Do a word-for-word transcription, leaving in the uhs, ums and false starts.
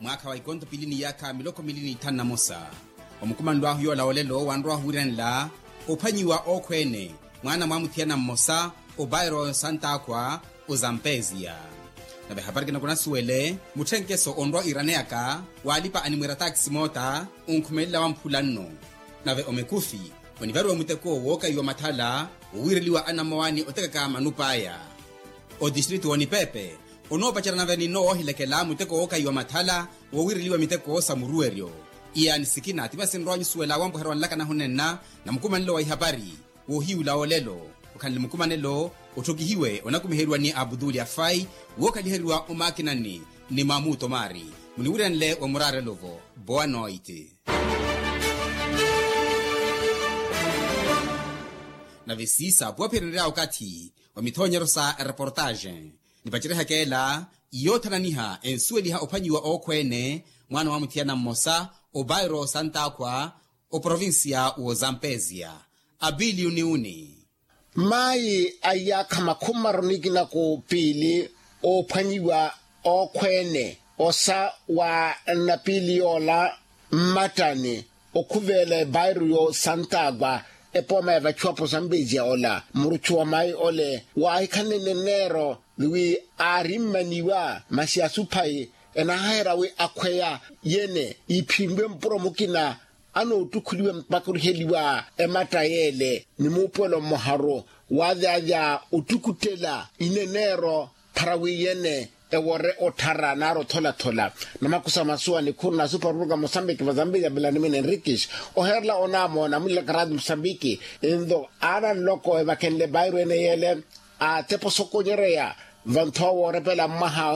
Mwaakha wa ikonto pili ni yaakha miloko mili n'ithanu na mosa, omukumanlwaahu yoola olelo wanrowahu wiiranela ophwanyiwa ookhweene mwaana mwa muthiyana mmosa obairo santaakhwa ozampezia. Nave ehapari kinakunasuwele mutthenkeso onrowa iraneyaka waalipa animwiira taakisi moota onkhumelela wamphula nno. Nave omekufi onivariwa muteko wookayiwa mathala wowiireliwa anamowani otekaka manup'aya. Otistritu w'onipepe onoopacerya nave ninno woohilekela muteko wookayiwa mathala wowiireliwa miteko sa muruweryo. Iyaani sikina ti masi nrowa nyusuwela wampuherya wanlakana ahunenna na mukumanelo wa ihapari woohiyula olelo. Okhanle mukumanelo otthokihiwe onakumiheriwa ni abutuli afai wookhaliheriwa omaakinani ni mamuto maari. Muniwiiranle wa muraarelo-vo. Boa noite. Nave siisa puwaphirenerya okathi wa mithoonyeryo sa ereportaxe. Nipacerihaka ela yoothananiha ensuweliha ophwanyiwa ookhweene mwaana wa muthiyana mmosa obairo santaakhwa oprovincia w'ozampezia. Apili uniuni. Mayi a iyaakha makhumi maru nikina ku piili oophwanyiwa ookhweene osa wa napili yoola mmattani okhuveela ebairo yo santaakhwa epooma ya vachuwapo zambeziya ola muruchu wa mayi ole waahikhanene neero ni wi aari mmaniwa masi asuphayi enaaheera wi akhweya yene iphinlwe mpuro mukina anoottukhuliwa mpaka oriheliwa ematta yeele ni muupuwelo mmoharu waavyavya ottukuttela ineneero para wi yene ewore otthara nari otholathola. Namakusa masuwa nikhuru nasupa ruruka mosambiki vazambiki ya belanimini enriquis oheerela onaamona mullaka radi mosambiki. Ento aana nloko evakhenle bairo ene yeele atepa osokonyereya vanthoowa woorepela mmaha